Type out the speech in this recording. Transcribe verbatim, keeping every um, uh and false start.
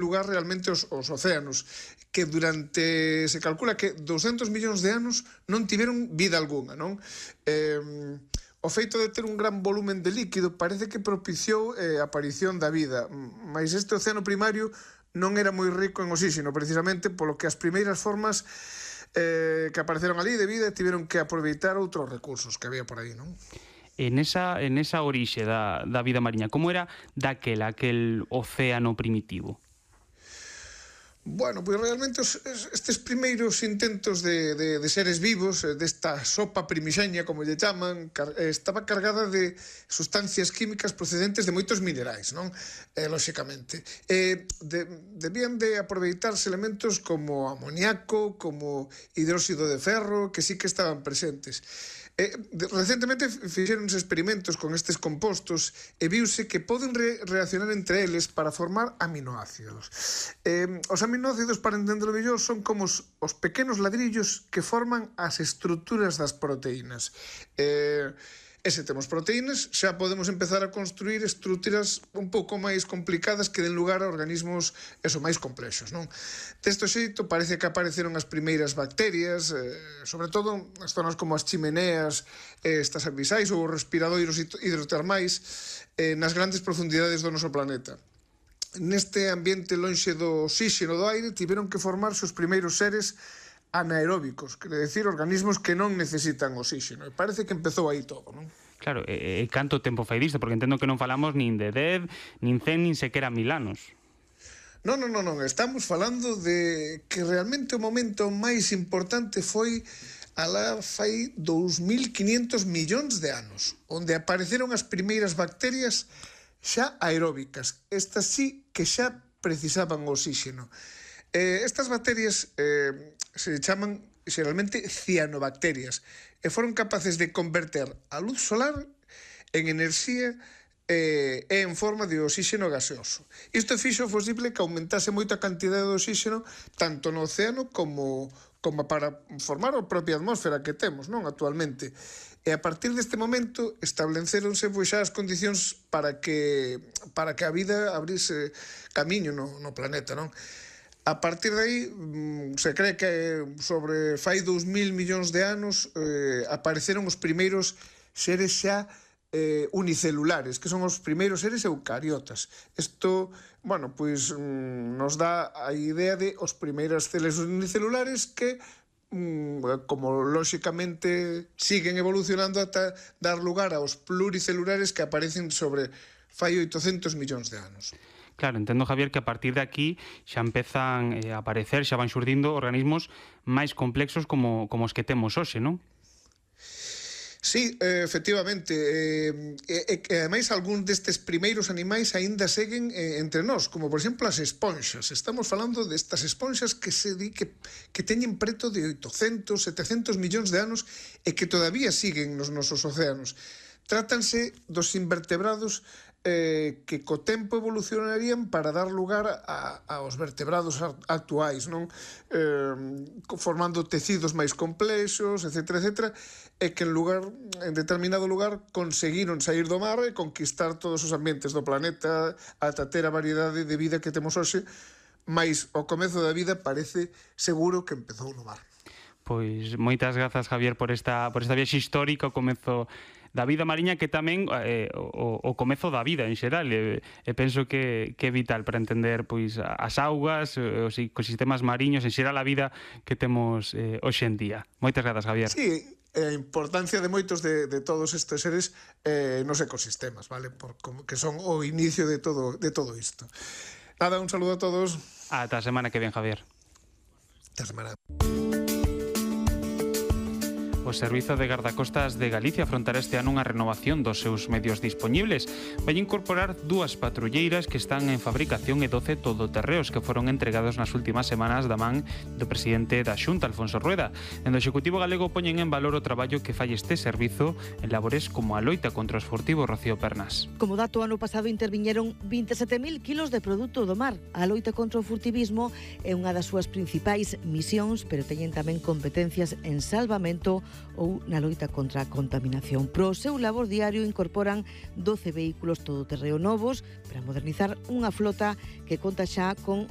lugar realmente os, os océanos, que durante, se calcula que douscentos millóns de anos non tiveron vida algunha, non? Eh, o feito de ter un gran volumen de líquido parece que propiciou eh, a aparición da vida, mas este océano primario non era moi rico en oxígeno, precisamente polo que as primeiras formas eh, que apareceron ali de vida tiveron que aproveitar outros recursos que había por aí, non? En esa, en esa orixe da, da vida mariña, como era daquela, aquel océano primitivo? Bueno, pois realmente os, estes primeiros intentos de, de, de seres vivos, desta sopa primixeña, como lle chaman, car, estaba cargada de sustancias químicas procedentes de moitos minerais, non? Eh, lóxicamente. Eh, de, debían de aproveitarse elementos como amoníaco, como hidróxido de ferro, que sí que estaban presentes. Eh, recentemente fixeronse experimentos con estes compostos e viuse que poden re reaccionar entre eles para formar aminoácidos. Eh, os aminoácidos, para entenderlo mellor, son como os, os pequenos ladrillos que forman as estruturas das proteínas. Eh, E se temos proteínas, xa podemos empezar a construir estruturas un pouco máis complicadas que den lugar a organismos eso, máis complexos, non? Deste xeito, parece que apareceron as primeiras bacterias, eh, sobre todo as zonas como as chimeneas, eh, estas abisais ou os respiradoiros hidrotermais eh, nas grandes profundidades do noso planeta. Neste ambiente lonxe do oxígeno do aire, tiveron que formarse os primeiros seres anaeróbicos, quere decir, organismos que non necesitan oxígeno. E parece que empezou aí todo, non? Claro, e, e canto tempo fai disto? Porque entendo que non falamos nin de dez, nin cen, nin sequera mil anos. Non, non, non, non. Estamos falando de que realmente o momento máis importante foi alá fai dous mil quinientos millóns de anos, onde apareceron as primeiras bacterias xa aeróbicas. Estas sí que xa precisaban oxígeno. Eh, estas bacterias eh, se chaman xeralmente cianobacterias e foron capaces de converter a luz solar en enerxía eh, e en forma de oxígeno gaseoso. Isto fixo posible que aumentase moito a cantidade de oxígeno tanto no océano como, como para formar a propia atmósfera que temos, non, actualmente. E a partir deste momento estableceronse pois, xa as condicións para que, para que a vida abrise camiño no, no planeta, non? A partir de aí, se cree que sobre fai dous mil millóns de anos eh, apareceron os primeiros seres xa eh, unicelulares, que son os primeiros seres eucariotas. Isto, bueno, pois nos dá a idea de os primeiros seres unicelulares que, como lóxicamente siguen evolucionando ata dar lugar aos pluricelulares que aparecen sobre fai oitocentos millóns de anos. Claro, entendo, Javier, que a partir de aquí xa empezan eh, a aparecer, xa van xurdindo organismos máis complexos como, como os que temos hoxe, non? Sí, eh, efectivamente. E, eh, eh, ademais, algún destes primeiros animais aínda seguen eh, entre nós, como, por exemplo, as esponxas. Estamos falando destas esponxas que se di que, que teñen preto de oitocentos, setecentos millóns de anos e que todavía siguen nos nosos océanos. Trátanse dos invertebrados eh, que co tempo evolucionarían para dar lugar a, aos vertebrados actuais, non? Eh, formando tecidos máis complexos, etcétera, etcétera, e que en lugar, en determinado lugar conseguiron sair do mar e conquistar todos os ambientes do planeta ata ter a variedade de vida que temos hoxe, mais o comezo da vida parece seguro que empezou no mar. Pois moitas grazas, Javier, por esta, por esta viaxe histórica, o comezo da vida mariña, que tamén eh, o, o comezo da vida en xeral, e, e penso que, que é vital para entender pois as augas, os ecosistemas mariños, en xeral a vida que temos eh, hoxe en día. Moitas grazas, Javier. Sí, a importancia de moitos de, de todos estes seres eh, nos ecosistemas, vale? Por, como, que son o inicio de todo, de todo isto. Nada, un saludo a todos. Ata a semana que ven, Javier. Ata a semana. O Servizo de Gardacostas de Galicia afrontará este ano unha renovación dos seus medios dispoñibles. Vai incorporar dúas patrulleiras que están en fabricación e doce todoterreos que foron entregados nas últimas semanas da man do presidente da Xunta, Alfonso Rueda. En do Executivo galego poñen en valor o traballo que fai este servizo en labores como a loita contra os furtivos. Rocío Pernas. Como dato, ano pasado interviñeron vinte e sete mil kilos de produto do mar. A loita contra o furtivismo é unha das súas principais misións, pero teñen tamén competencias en salvamento, ou na loita contra a contaminación. Pro seu labor diario incorporan doce vehículos todoterreo novos para modernizar unha flota que conta xa con